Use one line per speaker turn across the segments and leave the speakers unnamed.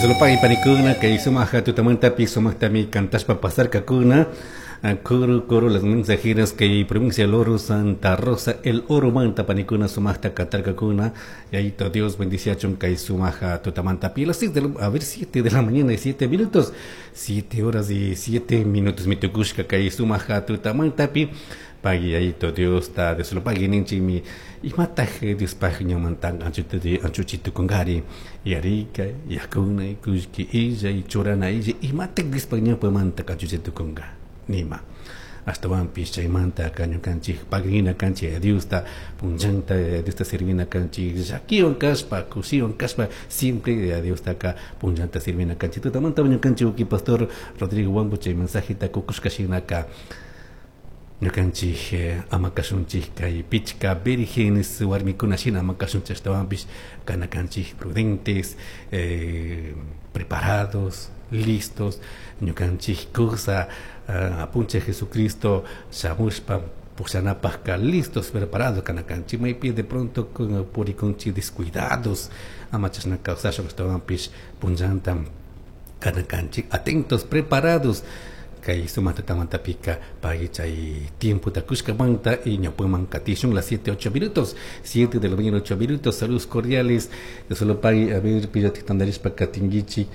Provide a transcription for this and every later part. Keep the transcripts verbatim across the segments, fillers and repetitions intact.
Solo panikuna kay sumaja tutamantapi sumaqtami kantashpa pasarkakuna Coro, coro, las mensajeras que provincia del Oro, Santa Rosa, el Oro manta panikuna sumaqta katarkakuna y ahí todo Dios bendice kay sumaja tutamantapi las seis de la, a ver siete de la mañana y siete minutos siete horas y siete minutos mitukushka kay sumaja tutamantapi pagui ayito Dios ta de solo pagui ninchi mi imataj Dios pag ñamantan anchuti anchuchitu kungari yarika yakuna kushki illa y churana illa imataj Dios pag ñapamanta anchuchitu kunga nima ashtawanpish chaymanta ñukanchik pagrina kanchik Diosta punllanta Diosta sirvina kanchik llakiwan kashpa kushiwan kashpa siempre a Diostaka punllanta sirvina kanchik tutamanta ñukanchik uki pastor Rodrigo Huambo chay mensajeta kukushka shinaka ñukanchik eh, ama kashunchik kay pichka vírgenes warmikuna shina ama kashunchik ashtawanpish kana kanchik prudentes eh, preparados listos ñukanchik kusa uh, apunchik Jesucristo shamushpa pushanapajka listos preparados kana kanchik maypi de pronto purikunchik descuidados ama chashna kawsashpa ashtawanpish punllanta kana kanchik atentos preparados kay sumaq tutamantapika pagui chay tiempo kushkamanta y ñawpaman katishun las siete ocho minutos siete de la mañana ocho minutos saludos cordiales de solo pagui a ver pillati tandarishpa katinguichi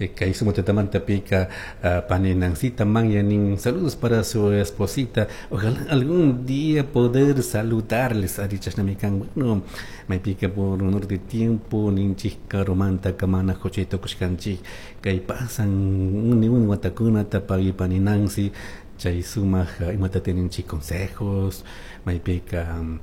kay sumaq tutamantapika uh, pani Nancita Manyanin saludos para su esposita ojalá algún día poder saludarles ari chashnamikan bueno maypika por honor de tiempo ninchik karumanta kamana jochito kushkanchik kay pasan uni uni watakunata pagui pani Nancy chay sumaq imata tininchik consejos maypika um,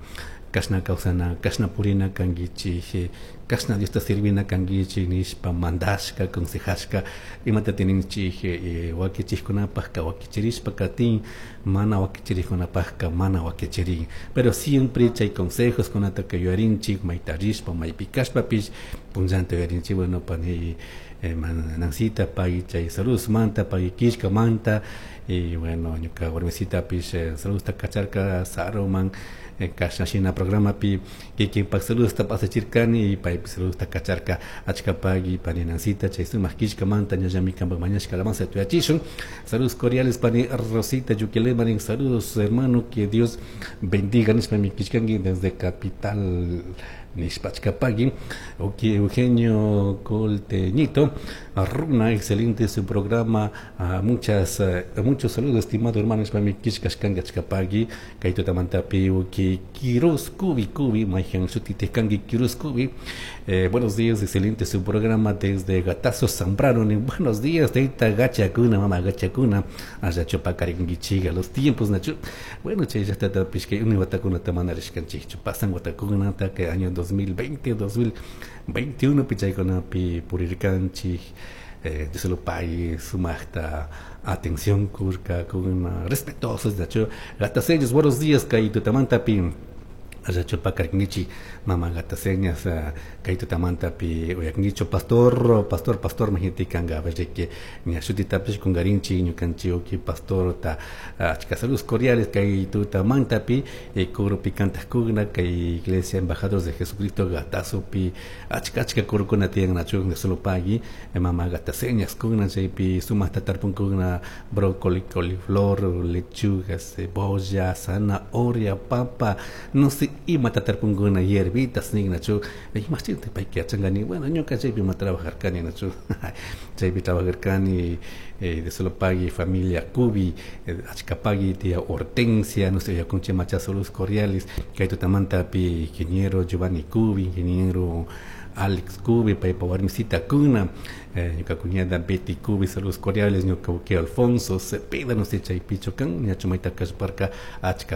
kashna kawsana kashna purina kankichik kashna Diosta sirvina kankichik nishpa mandashka aconsejashka imata tininchik eh, wakichikkunapajka wakichirishpa katin mana wakichirikkunapajka mana wakichirin pero siempre chay consejos kunataka yuyarinchik mayta rishpa maypi kashpapish punllanta yuyarinchik bueno pani eh, Nancita pagui chay saludos manta pagui killka manta y bueno ñuka warmisitapish eh, saludos kacharka saruman eh, kashna shina programapi kikinpak saludos pasachirkani y paypi saludos kacharka achka pagui pani Nancita chay sumak killkamanta ñallami kanpak mañashka alabanza tuyachishun saludos cordiales pani Rosita Yuquilemarin saludos hermano que Dios bendiga nishpa mi killkanki desde capital nishpachka pagui ok Eugenio Colteñito Runa excelente su programa uh, muchas uh, muchos saludos estimado hermano nishpa mi killkashkanki achka pagui kay tutamantapi uki Quiroz Kubi Kubi mayhan shutitejkanki Quiroz Kubi eh, buenos días excelente su programa desde Gatazo Zambrano buenos días tayta gachakuna mama gachakuna allá pakarinkichik los tiempos nachu bueno chay llaqtatapish kay uni watakunata mana rishkanchikchu pasan watakunata que año dos mil veinte, dos mil veintiuno pichaykunapi purirkanchik eh, solo pay sumaqta atención kurka kuna respetuosos nachu gatasellos buenos días kay tutamantapi allá pakarknichi mama gataseñas kay tutamantapi uyaknicho pastor pastor pastor majintikanga que ña shutitapish kungarinchi ñukanchik uki pastor ta achka saludos cordiales kay tutamantapi coropi kantaqkuna kay iglesia embajadores de Jesucristo gatazopi achka achka corokuna tiyan nachu solo pagui mama gataseñas kuna chaypi sumaqta tarpunkuna brócoli coliflor lechuga cebolla zanahoria papa no sé imata tarpunkuna hierbitas nin nachu imashtinta payka yachankani bueno ñuka chaypi ma trabajarkani nachu chaypi trabajarkani eh, de solo pagui familia Cubi eh, achka pagui tía Hortensia no sé yakunchi macha saludos cordiales kay tutamantapi ingeniero Giovanni Cubi ingeniero Alex Cubi paypa warmisita kuna eh, ñuka cuñada Betty Cubi saludos cordiales ñuka uki Alfonso Cepeda no sé chaypichu kan ñachu mayta kashparka achka